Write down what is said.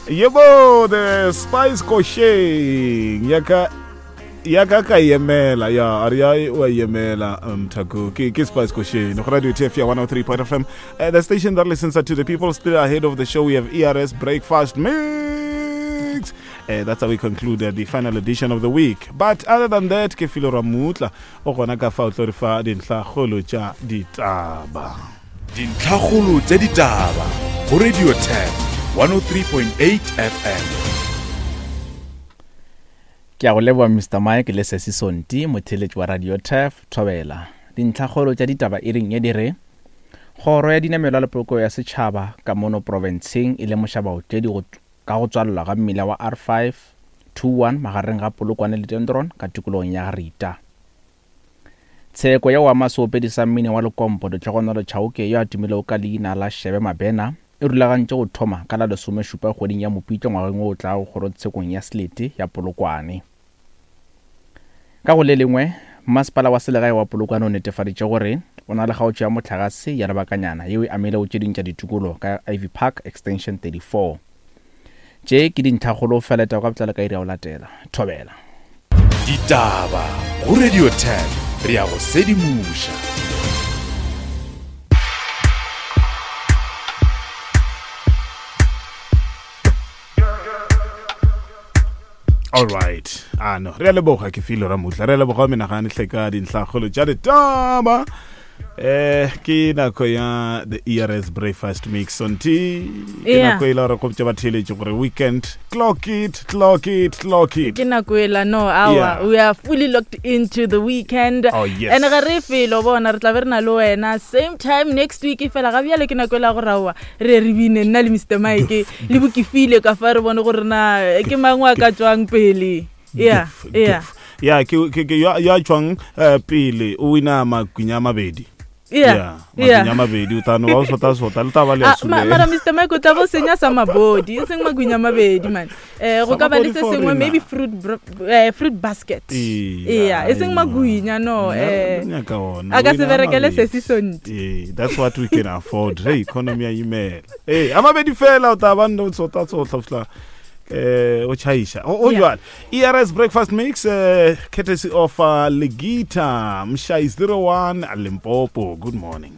Yebo, the Spice Kosheng. Yaka ya ka ka yemela ya a re ya o a yemela mthako ke ke Spice Kosheng go radio TF ya 103.5 FM uh, the station that listens to the people. Still ahead of the show we have ERS breakfast mix. That's how we conclude the final edition of the week. But other than that, ke filo ramutla o gona ka fa o tlo re fa dintlhakgolo tša ditaba. Dintlhakgolo tša ditaba go Radio Turf 103.8 FM. Ke a go leboga Mister Mike le Sesi Sonti, motheeletši wa Radio Turf, Thobela. Dintlhakgolo tša ditaba iring ye di re, Kgoro ya Dinamelwa le Polokego ya Setšhaba ka mono profenseng e lemoša baotledi go ka go tswalelwa ga mmila wa R521 magareng ga Polokwane le Dendron ka tikologong ya Rita. Tsheko ya go ama seopedi sa mmino wa Lekompo Ditlhogonolo Chauke yo a tumilego ka leina la Shebe Mabena e rulagantše go thoma ka la lesomešupa kgweding ya Mopitlo ngwageng wo o tlago kgorotshekong ya Selete ya Polokwane. Ka go le lengwe, Masepala wa Selegae wa Polokwane o netefaditše gore o na le kgaotšo ya mohlagase ya lebakanyana yeo e amilego tše ding tša ditikologo ka Ivy Park Extension 34. Tše ke dintlhakgolo fela taba ka botlalo ka iri ya go latela. Thobela. Ditaba go Radio 10 re ya go sedimoša. All right. Ah no, re a leboga ke filo ramutla. Re a leboga menagane hle ka dintlhakgolo tša ditaba. Eh ke nako ya the ERS breakfast mix on T. Ke Yeah. nako e la gore go botša batheeletši gore weekend clock it, clock it, clock it. ke nako ela no awa Yeah. we are fully locked into the weekend Oh, yes. and ga re felo bona re tla be re na le wena same time next week fela ga bjale ke nako ela gore aowa re re bine nna le Mr Mike le bokefile ka fa re bone gore na ke mang wa ka tswang pele. Yeah, yeah. Ya ke ke ke ya ya tswang eh, pele o wina makwinya a mabedi. Yeah, Yeah, makwinya a mabedi o tano ba o sota sota le taba le ya Ah, ma- mara sule. Mr Mike o tla bo senya sa mabodi e seng makwinya a mabedi man. Go Sa ka ba le mabodi se for sengwe rena. maybe fruit basket. Eya, Eya, e seng magwinya no. Nna re nyaka ona, A ka o se wina a berekele mabedi. sesi sonti. Ee, that's what we can afford. Hey, economy ya imela. Ee, a mabedi fela o tla ba nne o tsota tsotlha fihla eh o tšhaiša o Yeah. jwale ERS breakfast mix courtesy of Legita Mshai 01 Limpopo. Good morning.